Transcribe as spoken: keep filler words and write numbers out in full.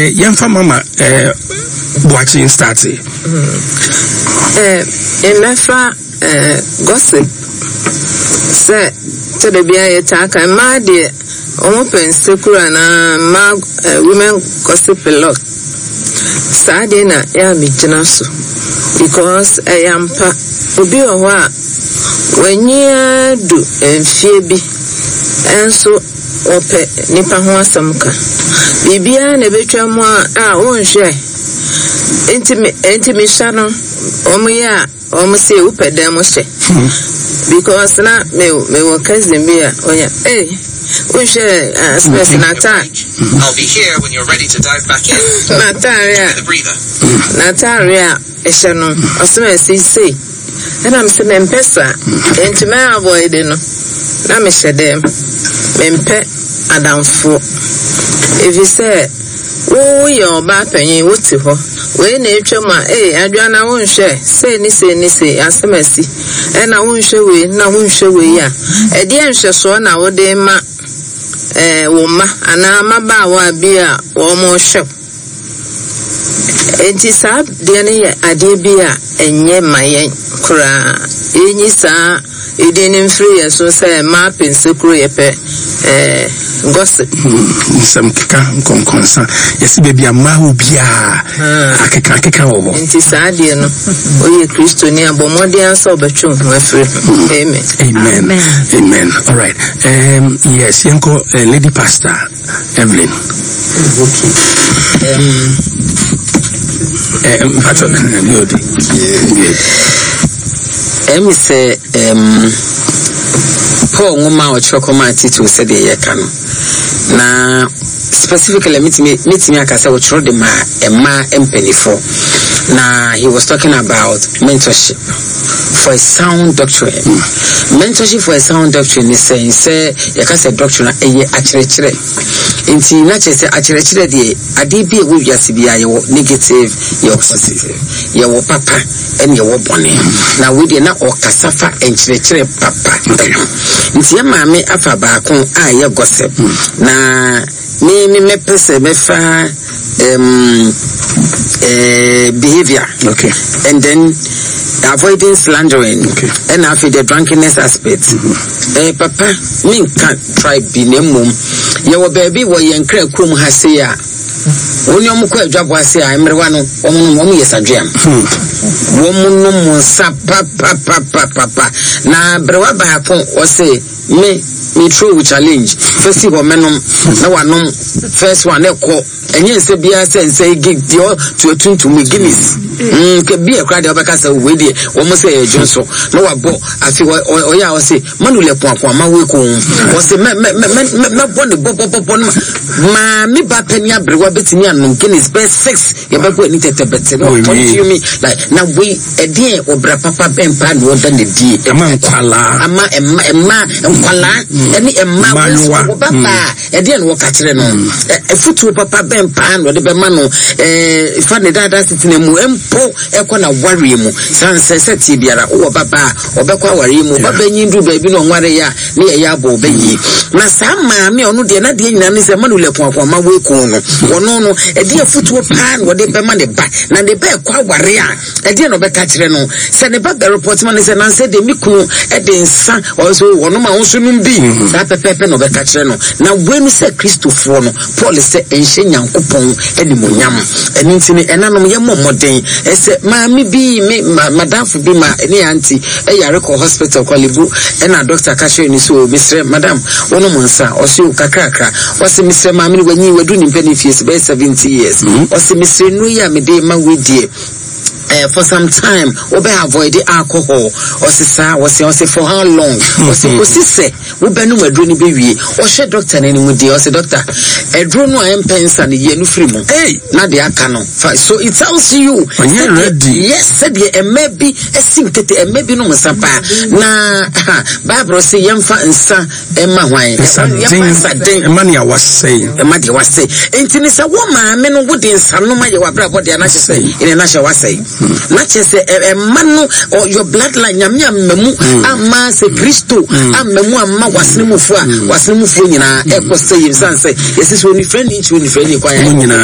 Eh, yɛmfa Mama eh, Boakye start. Eh, mmɛfa eh, gossip sɛ kyɛdɛ bia yɛtaa ka mmaa deɛ, ɔmo pɛ nsekuru anaa mmaa, eh, women gossip a lot. Saa deɛ na yɛ a megyina so because ɛyɛ ampa, obi wɔ hɔ a wanyi du mfie bi, ɛnso wɔpɛ nipa ho asɛm ka. Biribiara na ebetwa mu a a wonhwɛ. Nti me nti mehyɛ no, wɔn yɛ a wɔn se wopɛ dan mu hyɛ because na me mewɔ cousin bi a ɔnya ee wonhwɛ uh, space n'ataare. I'll be here when you're ready to dive back in. N'ataare a The breather. N'ataare a ɛhyɛ no, ɔsɛm ɛsi sei, ɛna mesɛ mempɛ saa, nti mɛ avoid no na mehyɛ dɛm. Mempɛ adamfoɔ ɛfiri sɛ woyɛ ɔbaa panyin, wote hɔ, wei na etwa mu a, ee, adwa na wonhwɛ sei ne sei ne sei, asɛm asi, ɛna wonhwɛ wei na wonhwɛ wei a, ɛdeɛ nhwɛsoɔ na wode ma ɛɛ wo mma anaa mmabaawa bi a wɔn hwɛ wo? Nti saa deɛ no yɛ adeɛ bi a ɛnyɛ ma yɛn koraa. Yɛnyi saa edin no mfiri yɛn so sɛ mmaa pɛ nsekuro, yɛpɛ ɛɛ gossip. Nsɛm keka nkɔnkɔnsa, yɛsi baabi a mmaa wɔ biara, akeka akeka wɔ hɔ. Nti saa adeɛ no, woyɛ Kristoni a, bɔ mmɔden sɛ wobɛtwe wo ho afiri ho. Amen. Amen, amen. All right, um, yes, yɛnkɔ uh, Lady Pastor Evelyn. Okay. Um, uh, mpatɔ, good good. Ɛmi sɛ um, Paul nwoma a ɔkyerɛ kɔma Tito, sɛdeɛ yɛka no na specifically metumi metumi aka sɛ ɔkyerɛ de ma mmaa mpanimfoɔ, na he was talking about mentorship for a sound doctrine. Mentorship for a sound doctrine ne sɛn? Sɛ yɛka sɛ doctrine a, ɛyɛ akyerɛkyerɛ, nti na kyerɛ sɛ akyerɛkyerɛ deɛ, adeɛ bi a ɛwɔ wiase bi a, yɛwɔ negative, yɛwɔ positive, yɛwɔ papa ɛne yɛwɔ bɔne. Na wei deɛ na ɔkasa fa nkyerɛkyerɛ papa ɛho. Nti yɛ maame afa baako a ɛyɛ gossip, na me me mɛpɛ sɛ mɛfa um, uh, behavior okay and then avoiding slandering, Okay. ɛna afei the drunkenness aspect. eh, papa menka tribe bi, na mmom yɛwɔ baabi wɔ yɛn kra kurom ha sei a, wɔn ne wɔn kɔ adwabɔ ase a, mmerewa no wɔn nom, wɔn yɛ sadweam, wɔn nom nsa papapapapa. Na berewa baako ɔse me me throw challenge fɛsi hɔ, mɛnom na wanom first one, ɛkɔ ɛnyɛ nsa biara sɛ nsa yi gi deɛ ɔtu tuntum yi, Guinness mm ke bi ɛkora deɛ ɔbɛka sɛ wei deɛ wɔn sɛ ɛyɛ dwo nso na wabɔ. Afi ɔ- ɔ- ɔyɛ a ɔse manu lɛ kuakua ma wo ko ɔse mɛ mɛ mɛ mɛ mɛbɔ ne bɔbɔbɔbɔ no ma maame ba panyin aberewa bɛtumi anom Guinness bɛɛ six, yɛbɛbɔ ani tɛtɛbɛtɛ na Oh, ɔconsume me like. Na wei ɛdeɛ ɔbra papa bɛn paa na ɔda ne die ɛma nkwalaa? Ama ɛma ɛma nkwalaa ɛne ɛma mmaayewa. Wɔba baa ɛdeɛ na wɔka kyerɛ no, Ɛ- ɛfutuo papa bɛn paa na ɔde bɛma no ɛɛ fa ne daadaa setena mu mpo ɛkɔ na wareɛ mu? San sɛ sɛ tie biara wowɔ ba baa ɔbɛkɔ awareɛ mu, ɔba bɛnyin duru baabi na ɔnware yɛ a, ne yɛyɛ abɔ ɔbɛyie. Na saa maame a ɔno deɛ n'adeɛ nyinaa ne sɛ manu lɛ koakoa ma wo ekun no, ɔno no ɛdeɛ afutuo paa na ɔde bɛma ne ba, na ne ba ɛkɔ aware a, ɛdeɛ na ɔbɛka kyerɛ no sɛ ne ba bɛ report ma ne sɛ nansɛ deɛ me kunu ɛde nsa ɔso ɔnom a ɔnso nom bi saa pɛpɛɛpɛ na ɔbɛka kyerɛ no. Na wei no sɛ Kristofoɔ no, Paul sɛ ɛnhyɛ Nyankopɔn animonyam. Ɛno nti no, ɛnanom, yɛmmɔ mmɔden. Ɛsɛ maame bi me ma madamfo bi ma ne aunty ɛyare kɔ hospital, Korle Bu, ɛna doctor ka kyerɛ no sɛ, "O, mesrɛ madam, wonom nsa?" Ɔse o, kakrakra. Ɔse mesrɛ maame no, wanyi wadu ne mpɛ ne fie sɛ bɛyɛ seventy years. Ɔse mesrɛ, nnuro yi a mede ma wei deɛ, uh, for some time wobɛ avoid alcohol. Ɔse saa. ɔse ɔse for how long? Ɔse kɔsi sɛ wobɛnom aduro no bɛwie. Ɔhwɛ doctor no anim deɛ, ɔse doctor, aduro no a ɛmpɛ nsa no, yɛ no firi mu. Hey! Na deɛ aka no fa. So it tells you Ɔnyɛ sɛdeɛ- ready. Yes, sɛdeɛ ɛmɛ bi ɛsi nkete, ɛmɛ bi nom nsa paa. Na ha, Bible sɛ yɛmfa nsa ɛma hwan? Yɛmfa nsa den ɛma nea wasɛe. Ɛma deɛ wasɛe. Nti ne sɛ wo maame no wode nsanom ayɛ w'abrabɔ deɛ, na kyerɛ sɛ ɛne na hyɛ wasɛe, na kyerɛ sɛ ɛ- ɛma no ɔ- your bloodline, Nyame amma mu amma sɛ Kristo amma mu amma wasene mufoɔ a, wasene mufoɔ nyinaa ɛkɔ sɛ yɛm sane sɛ yɛsɛ sɛ onifrɛ ne nkyi onifrɛ ne kwan. Mo nyinaa.